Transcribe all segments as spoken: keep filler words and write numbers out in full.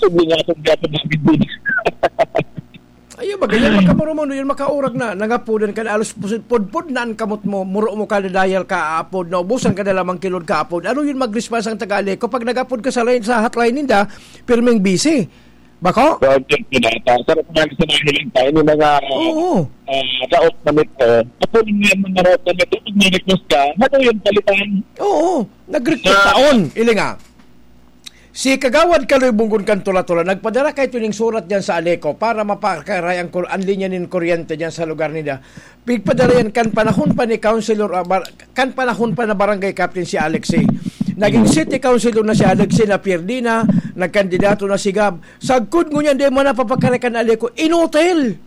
Tubli nga akong gapon namin din. Ayun, ba, ganyan, pagka mo, Ramon, yun, makaurag na, nangapodan ka na, alos pusid-, pudpod na ang kamot mo, muro mo ka, nadayal ka, aapod, naubusan ka na lamang kilod ka, apod. Ano yun, mag-response ang taga-Aleco? Pag nag-apod ka sa line, sa hotline ninda, pirming busy. Bako? Project nila. Ta-, sarap nga sa nahiling tayo, yung mga, Oo. ah, raot na mito. Ako rin yung mga raot na mito, pag may request ka, ano yung palitan? Oo, nag-request Sa taon, ilinga. Si Kagawad Kaloy Bunggon kan Tula-Tula, nagpadara kay tuning surat diyan sa Aleco para mapakaray ang kur-, ang linya nin kuryente diyan sa lugar nila. Pigpadara yan kan panahon pa ni Councilor, ah, bar-, kan panahon pa na Barangay Captain si Alexei. Naging city councilor na si Alexei, na Pierdina, nagkandidato na si Gab. Sagkod ngunyan, di mo napapakaray kan Aleco. Inutil!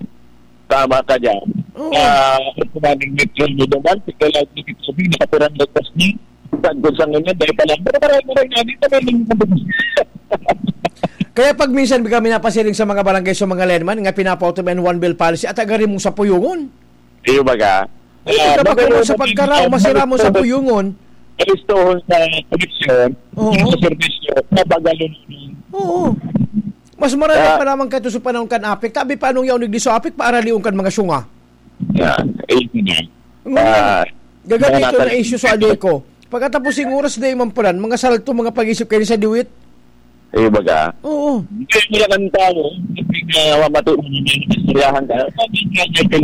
Tama ka dyan. Oo. Ah, ito na ning Metro Miloman, si Kailag ni Kitsubi, nakapirang lagpas ni. Sagkod sa ngunyan, dahil pa lang. Pero maray-maray na, di pa may lingkod. Kaya pag minsan kami napasiring sa mga barangay, sa mga lineman, nga pinapautom yan one bill policy, at agari mong sa puyungon. Iyo baga. Ay, Ah, kapag magano sa mo pagkaraw, din, masira mo sa puyungon. Kalistohon sa koneksyon, Oo. sa serbisyo, mabagalon. Oo. Mas marami Ah. pa naman kaito sa panahon kan apik. Tabi pa anong yaon digdi sa apik, paaralion kan mga syunga. Yan. Ayun na. Ngunyan, Ah, gagamiton mga na issue sa Aleco. Pagkatapos yung oras na iman pala, mga salto, mga pag-isip kayo sa diwit. Iyo baga. Oo. Hindi mo lang ang tao, hindi nga mamati mo, hindi nga istoryahan ka. Sabi nga niya, kay,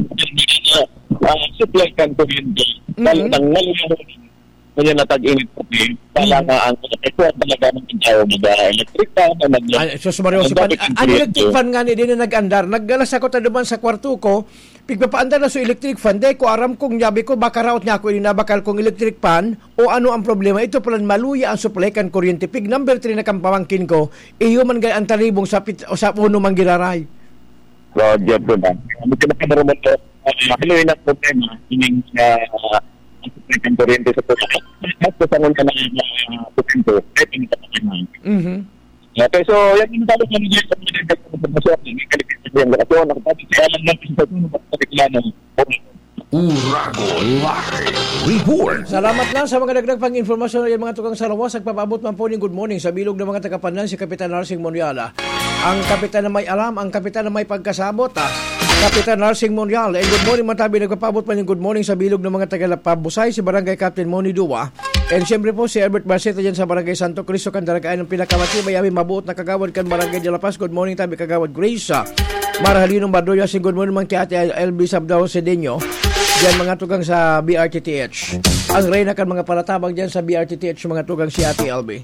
ah, supply kan kuryente. Mhm. Talagang nalulungkot. Kaya natag-init pa din. Kaya Mhm. nga ang epekto talaga ng tao, mag-electric fan, mag- Ay, sus, Mario, ang si Pan-, dati a-, ang electric kuryente. Fan nga ni, di na nag-andar. Naggalas ako ta duman sa kwarto ko, pigpapaandar na sa electric fan, di ko aram kung yabi ko, baka raot niya ako, inabakal kong electric fan, o ano ang problema. Ito pala, maluya ang supply kan kuryente. Pig number three na kang pamangkin ko, iyo man gay ang talibong sa pit-, o sa puno man giraray. Roger po ba? Ano ka naman mo to? Ah, ano yun ang problema? Ining, ah, ang supply kan kuryente sa puno. At sa sangon ka na, ah, kuryente, eh, pinagkakakinan. Mhm. Okay, so, yan yung tawag ng Diyos sa mga nagkakakinan sa mga kalikitan ng lokasyon. Nakapagod siya lang ng pinagkakakinan sa reklamo. Uragon Live Report. Salamat lang sa mga dagdag pang impormasyon. Yan, mga tukang sa lawas, nagpapaabot man po ning good morning sa bilog ng mga taga-Pandan, si Kapitan Narsing Moniala. Ang kapitan na may alam, ang kapitan na may pagkasabot, ah. Kapitan Narsing Moniala. And good morning, Matabi. Nagpapaabot man yung good morning sa bilog ng mga taga-Lapabusay, si Barangay Captain Moni Dua. And siyempre po, si Albert Barceta dyan sa Barangay Santo Cristo, Candaragaan, ang pinakamatibay, amin mabuot na kagawad kan Barangay de La Paz. Good morning, tabi, Kagawad Grace. Marhalinong Bardoya, si good morning man kay Ate L B Sabdao Sedeño. Diyan, mga tugang sa B R T T H. Ang reyna kan mga palatabang diyan sa B R T T H, mga tugang, si Ate L B.